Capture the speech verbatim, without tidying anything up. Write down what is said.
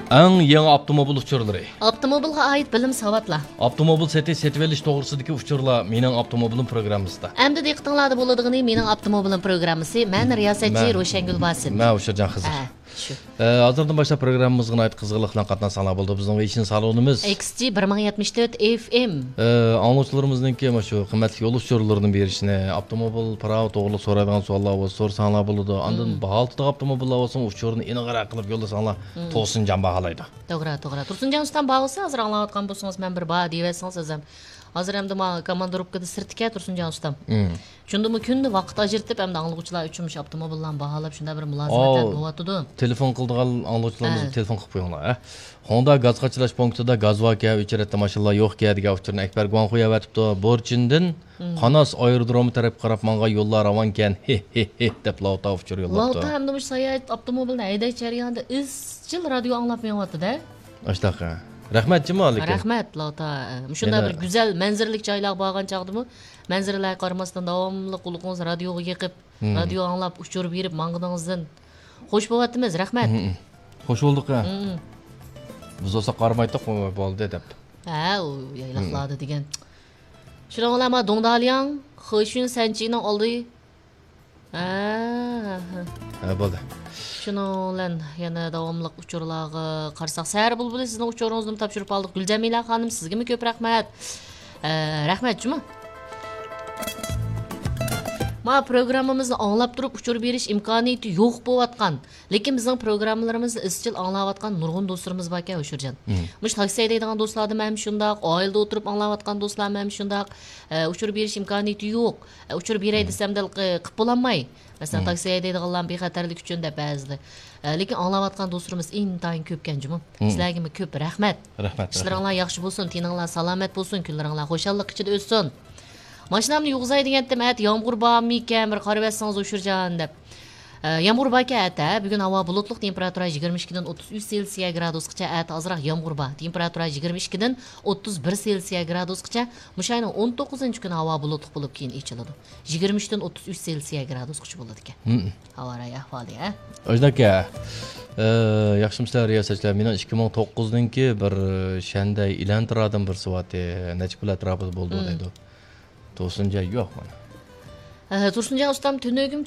ئەڭ يېڭى ئاپتوموبىل ئۇچۇرلىرى. ئاپتوموبىلغا ئائىت بىلىم ساۋاتلار. ئاپتوموبىل سېتىش، سېتىۋېلىش توغرىسىدىكى ئۇچۇرلار مېنىڭ ئاپتوموبىلىم پروگراممىسىدا. ئەمدى دىققىتىڭلاردا بولىدىغىنى مېنىڭ ئاپتوموبىلىم پروگراممىسى. مەن رىياسەتچى مەن، روشەنگۈل باسىت. مەن ئۇشۇرجان خىزىر. ئە، شۇ. ئە، ھازىردىن باشلاپ پروگراممىمىزغا ناھايىتى قىزغىنلىق بىلەن قاتناشساڭلار بولىدۇ. بىزنىڭ ۋېيشىن سالونىمىز. ئېكس جى بىر مىڭ يەتمىش تۆت ئېف ئېم. ئە، ئاڭلىغۇچىلىرىمىزنىڭكى مۇشۇ قىممەتلىك يول ئۇچۇرلىرىنى بېرىشنى، ئاپتوموبىل پىراۋا توغرىلىق سورايدىغان سوئاللار بولسا سورىساڭلار بولىدۇ. ئاندىن باھالىتىدىغان ئاپتوموبىللار بولسا ئۇچۇرنى ئېنىقراق قىلىپ يوللىساڭلار، توسۇنجان باھالايدۇ. توغرا، توغرا. تۇرسۇنجان ئۇستام بار بولسا، ھازىر ئاڭلاۋاتقان بولسىڭىز، مەن بىر بار دېيىۋەتسىڭىز ئەزەم. ھازىر ئەمدى ما كاماندىروپكىدا سىرتتىكەن تۇرسۇنجان ئۇستام. شۇندىمۇ كۈندە ۋاقىت ئاجرىتىپ، ئەمدى ئاڭلىغۇچىلار ئۈچۈن مۇشۇ ئاپتوموبىللارنى باھالاپ، شۇنداق بىر مۇلازىمەتلەر بولۇۋاتىدۇ. تېلېفون قىلىدىغان ئاڭلىغۇچىلىرىمىز تېلېفون قىلىپ قويۇڭلار، ھە. خۇڭدا گاز قاچىلاش پونكىتىدا گاز باركەن، ئۆچىرەتتە ماشىنىلار يوقكەن دېگەن ئۇچۇرنى ئەكبەر گۇاڭخۇ يەۋەتىپتۇ. بورچىندىن قاناس ئايرودرومى تەرەپكە قاراپ ماڭغان يوللار راۋانكەن، ھې، ھې، ھې، دەپ لاۋتا ئۇچۇر يوللاپتۇ. لاۋتا ھەمدە مۇشۇ ساياھەت ئاپتوموبىلىنى ھەيدەش جەريانىدا ئىزچىل رادىيو ئاڭلاپ مېڭىۋاتىدۇ-دە. ئاشتاق، ھە. رەھمەت جۇمۇ لېكىن. رەھمەت، لاۋتا. مۇشۇنداق بىر گۈزەل، مەنزىرىلىك جايلارغا بارغان چاغدىمۇ، مەنزىرىلەرگە قارىماستىن، داۋاملىق قۇلىقىڭىزنى رادىيوغا يېقىپ، رادىيو ئاڭلاپ، ئۇچۇر بېرىپ ماڭغىنىڭىزدىن خوش بولۇۋاتىمىز. رەھمەت. خوش بولدۇق، ھە. بىز بولسا قارىمايتتۇق، بولدى دەپ. ھە، ئۇ يايلاقلاردا دېگەن. شۇنىڭ بىلەن ما دوڭدالياڭ، خېشۈن سەنچىنىڭ ئالدى. ھە، ھە، ھە. ھە، بولدى. شۇنىڭ بىلەن يەنە داۋاملىق ئۇچۇرلارغا قارىساق، سەھەر بۇلبۇلى سىزنىڭ ئۇچۇرىڭىزنىمۇ تاپشۇرۇپ ئالدۇق. گۈلجەمىلە خانىم، سىزگىمۇ كۆپ رەھمەت. ئە، رەھمەت جۇمۇ. ما پروگراممىمىزنى ئاڭلاپ تۇرۇپ ئۇچۇر بېرىش ئىمكانىيىتى يوق بولۇۋاتقان، لېكىن بىزنىڭ پروگراممىلىرىمىزنى ئىزچىل ئاڭلاۋاتقان نۇرغۇن دوستلىرىمىز باركەن، ھوشۇرجان. مۇشۇ تاكسى ھەيدەيدىغان دوستلاردا مەن شۇنداق، ئائىلىدە ئولتۇرۇپ ئاڭلاۋاتقان دوستلار مەن شۇنداق. ئە، ئۇچۇر بېرىش ئىمكانىيىتى يوق. ئە، ئۇچۇر بېرەي دېسەم، دەل قى-، قىپ بولالماي. مەسىلەن، تاكسى ھەيدەيدىغانلار بىخەتەرلىك ئۈچۈن دەپ بەزىدە. ئە، لېكىن ئاڭلاۋاتقان دوستلىرىمىز ئىنتايىن كۆپكەن جۇمۇ. سىلەرگىمۇ كۆپ رەھمەت. رەھمەت، ئىشلىرىڭلار ياخشى بولسۇن، تېنىڭلار سالامەت بولسۇن، كۈنلىرىڭلار خۇشاللىق ئىچىدە ئۆتسۇن. ماشىنامنى يۇغۇزاي دېگەنتىم، ئەتە يامغۇر بارمىكەن، بىر قارىۋەتسىڭىز ئۇچۇرجان دەپ. ئە، يامغۇر باركەن ئەتە. بۈگۈن ھاۋا بۇلۇتلۇق، تېمپېراتۇرا يىگىرمە ئىككىدىن ئوتتۇز ئۈچ سېلسىيە گرادۇسقىچە، ئەتە ئازراق يامغۇر بار. تېمپېراتۇرا يىگىرمە ئىككىدىن ئوتتۇز بىر سېلسىيە گرادۇسقىچە، مۇشۇ ئاينىڭ ئون توققۇزىنچى كۈنى ھاۋا بۇلۇتلۇق بولۇپ، كېيىن ئېچىلىدۇ. يىگىرمە ئۈچتىن ئوتتۇز ئۈچ سېلسىيە گرادۇسقىچە بولىدىكەن. ھاۋا رايى ئەھۋالى، ھە؟ ئاجداكا، ئە، ياخشىمۇسىلەر رىياسەتچىلەر؟ مېنىڭ ئىككى مىڭ توققۇزنىڭكى بىر، ئە، شەندەي ئىلەنتىرادىن بىرسى بارتى، نەچچە پۇل ئەتراپىدا بولىدۇ دەيدۇ. توسۇنجان يوق مانا. ئە، تۇرسۇنجان ئۇستام، تۈنۈگۈن